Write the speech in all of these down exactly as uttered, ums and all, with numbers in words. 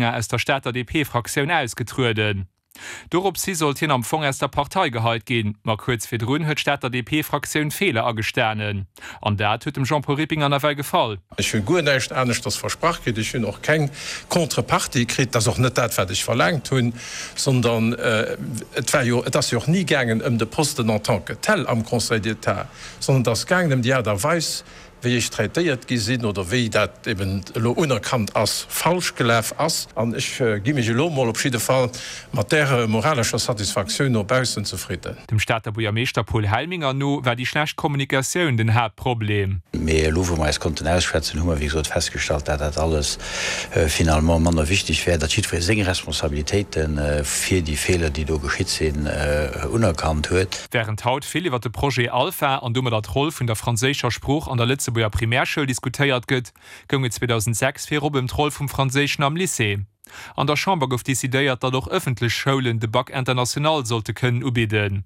aus der Stater D P-Fraktioun ausgetrueden. Doropshi sollt hien am Fong aus der Partei geheit ginn, ma kuerz virdrun huet d'Stater D P-Fraktioun Feeler agestanen. An dat huet dem Jean-Paul Rippinger nawell gefall. Ech hunn guer näischt aneschters versprach kritt, ech hunn och keng Contrepartie kritt, dat ass och net dat wat ech verlaangt hunn, sondern et war jo, et ass jo och ni gaangen ëm de Posten en tant que tel am Conseil d'État, sondern et ass gaangen ëm déi Aart a Weis, wéi ech traitéiert gi sinn oder wéi dat eben elo unerkannt ass, falsch gelaf ass. An ech gi mech elo mol op jidde Fall mat där moralescher Satisfaktioun no baussen zefridden. Dem Stater Buergermeeschter Paul Helminger no war déi schlecht Kommunikatioun den Haaptproblem. Mee elo wou mer eis konnten ausschwätzen, hu mer wéi gesot festgestallt, dat dat alles finalement manner wichteg wär, datt jiddweree seng Responsabilitéite fir déi Feeler, déi do geschitt sinn, unerkannt huet. Wärend haut vill iwwer de Projet Alpha an domadder d'Roll vun der franséischer Sprooch an der Lëtzebuerger Primärschoul diskutéiert gëtt, goung et zweedausendsächs virop ëm d'Roll vum Franséischen am Lycée. An der Chamber gouf decidéiert, datt och ëffentlech Schoulen de Bac international sollte kënnen ubidden.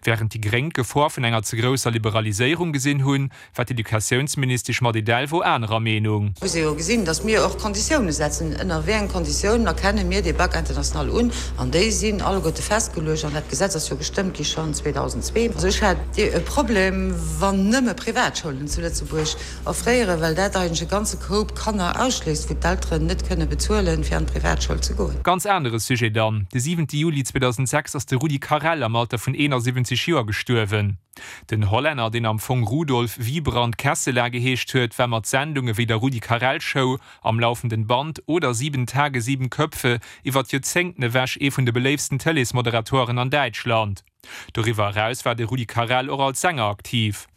Wärend déi Gréng d'Gefor vun enger ze grousser Liberaliséierung gesinn hunn, war d'Educatiounsministesch Mady Delvaux anerer Meenung. Muss ee jo gesinn, datt mir och Konditioune setzen, ënner wéi enge Konditiounen erkenne mir dee Bac international un, an déi sinn alleguerte festgeluecht an dat Gesetz ass jo gestëmmt gi schonn zweedausendzwee. Also ech hätt e Problem, wann nëmme Privatschoulen zu Lëtzebuerg offréieren, well dat eigentlech e ganze Koup Kanner ausschléisst, wou d'Elteren net kënne bezuelen, fir an d'Privatschoul ze goen. Ganz anere Sujet dann, De siwente Juli zweedausendsechs ass de Rudi Carrell am Alter vun eenasiwwenzeg Joer gestuerwen. Den Hollänner, deen am Fong Rudolf Wiebrand Kesselaar geheescht huet, war mat Sendunge wéi der Rudi Carrell Show, Am laufenden Band oder Sieben Tage, sieben Köpfe iwwer Joerzéngten ewech ee vun de beléiftsten Tëleesmoderatoren an Däitschland. Doriwwer eraus war de Rudi Carrell och als Sänger aktiv.